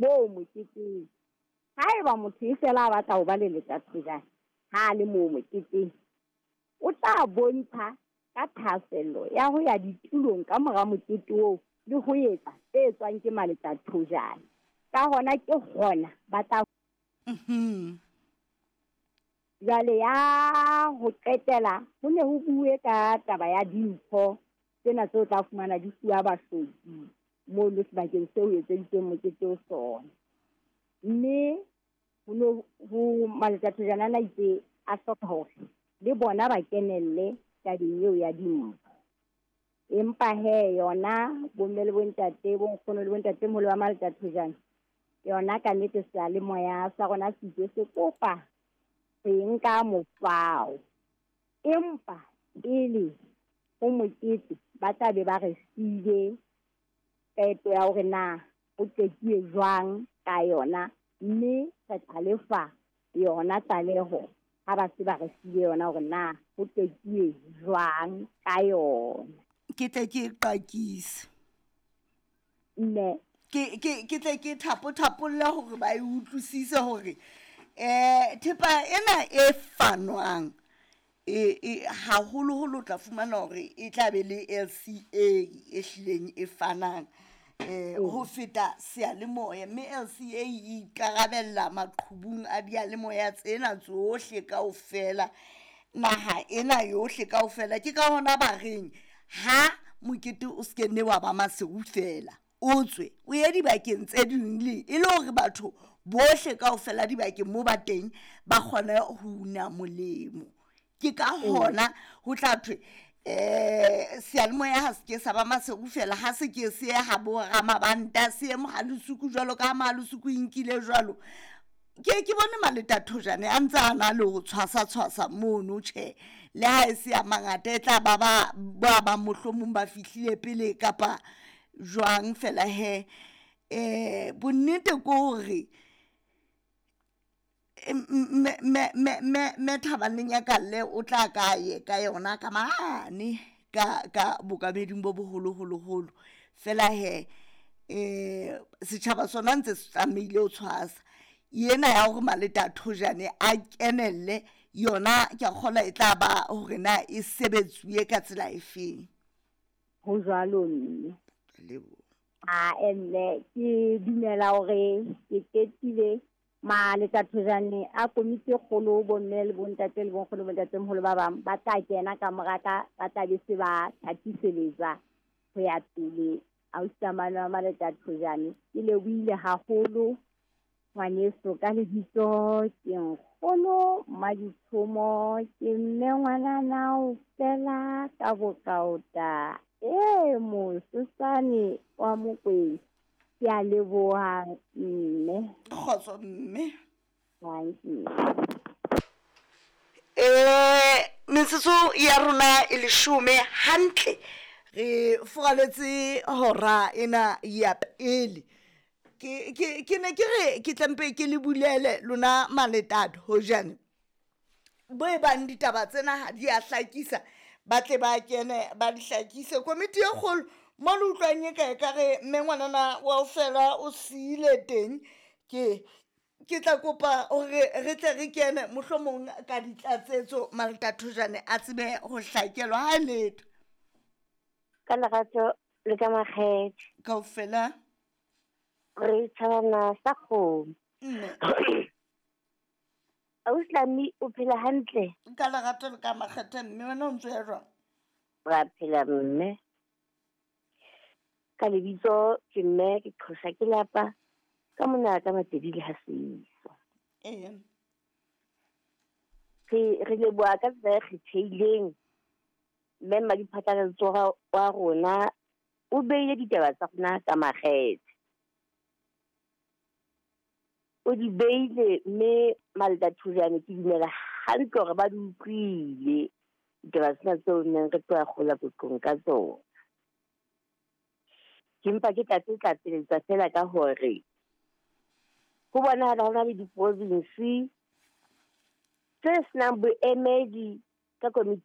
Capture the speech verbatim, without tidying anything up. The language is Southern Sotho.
Moo moketeng, haeba motho e fela a batla ho ba leletathojane ha a le moo moketeng, o tla bontsha ka thahasello ya ho ya ditulong ka mora mokete oo le ho etsa tse etswang ke maletathojane. Ka hona ke hona ba tla Mhm. Jwale ya ho qetela ho ne ho bue ka taba ya dimpho tsena tseo tla fumana di fuwa bahloki mono sebakeng seo ho etseditsweng mokete ho sona. Mme ho no ho maletathojane ana itse a hloka hore le bona ba kenelle tabeng eo ya dimpho. Empa hee yona bomme le bontate, bonkgono le bontatemoholo ba maletathojane, yona ka nnete seyalemoya sa rona se itse se kopa ho e nka mofao. Empa pele ho mokete ba tla be ba re file qeto ya hore na ho qetuwe jwang ka yona, mme re tla lefa yona tlaleho ha ba se ba re file yona hore na ho qetuwe jwang ka yona. Ke tle ke e qakise. Mme Ke ke ke tle ke thapo-thapolle hore ba e utlwisise hore eh thepa ena e fanwang e e haholoholo o tla fumana hore e tla be le L C A e hlileng e fanang eh ho feta seyalemoya, mme L C A e ikarabella maqhubung a diyalemoya tsena tsohle kaofela, naha ena yohle kaofela. Ke ka hona ba reng ha mokete o se ke nne wa ba Maseru fela, o tswe o ye dibakeng tse ding le e le hore batho bohle kaofela dibakeng mo ba teng ba kgone ho una molemo. Ke ka hona ho tla thwe eh seyalemoya ha se ke sa ba Maseru fela, ha se ke se ye ha bo Ramabanta, se ye Mohalesuku jwalo ka ha Mohalesuku e nkile jwalo. Ke ke bone maletathojane a ntse a na le ho tshwasa tshwasa mono. Tjhe, le ha e se a mangata, e tla ba ba ba bang mohlomong ba fihlile pele kapa jwang. Fela he eh bonnete ke hore me me me me me Thabaneng ya Kalle o tla ka ye ka yona ka mane ka ka bokameding bo boholo holo holo. Fela he eh setjhaba sona ntse se tlamehile ho tshwasa ena ya hore maletathojane a kenelle yona. Ke a kgolwa e tla ba hore na e sebetsuwe ka tsela efeng. Ho jwalo, mme. Leboha. A mme ke dumela hore ke qetile. Maletathojane a komiti e kgolo, bomme le bontate le bonkgono, bontatemoholo ba bang ba tla kena ka mora ka, ba tla be se ba thatiseletsa ho ya pele. Ausi Tamane wa maletathojane, ke lebohile haholo ngwaneso. Ka lebitso ke nkgono Mmaditshomo, ke mme ngwanana o fela ka bokaota e mosesane wa Mokwena. Ke a leboha, mme. Kgotso, mme. Thank you. eh metsotso ya rona e leshome hantle re furaletse hora ena ya pele. ke ke ke ne ke re ke tlampe ke le bulele lona maletatho hojane bo e bang ditaba tsena ha di a hlakisa, ba tle ba kene ba di hlakise. Komiti e kgolo mo le utlwang e ka e ka re mme ngwanana wa ofela o siile teng, ke ke tla kopa hore re tle re kene mohlomong ka ditlatsetso, maletathojane a tsebe ho hlakelwa ha letho. Ka lerato le ka makgethe. Kaofela. Re thabana sa kgomo. Mme. Ausi, o phela hantle? Ka lerato le ka makgethe, mme. Wena o ntso ya jwang? Ra phela, mme. Ka lebitso ke mme ke qhosa ke lapa ka mona ka Matedi le ha seiso. Ee. Re re leboha ka tsela e kgethehileng mme Mmadiphatlalatso wa rona o beile ditaba tsa rona ka makgethe. O di beile, mme maletathojane ke dumela hantle hore ba di utlwile ditaba tsena tseo neng re tloha kgola koqong ka tsona. Ke mpa ke tlatse tlatseletsa fela ka hore ho bonahala ho na le diprovinsi tse senang boemedi ka komiti.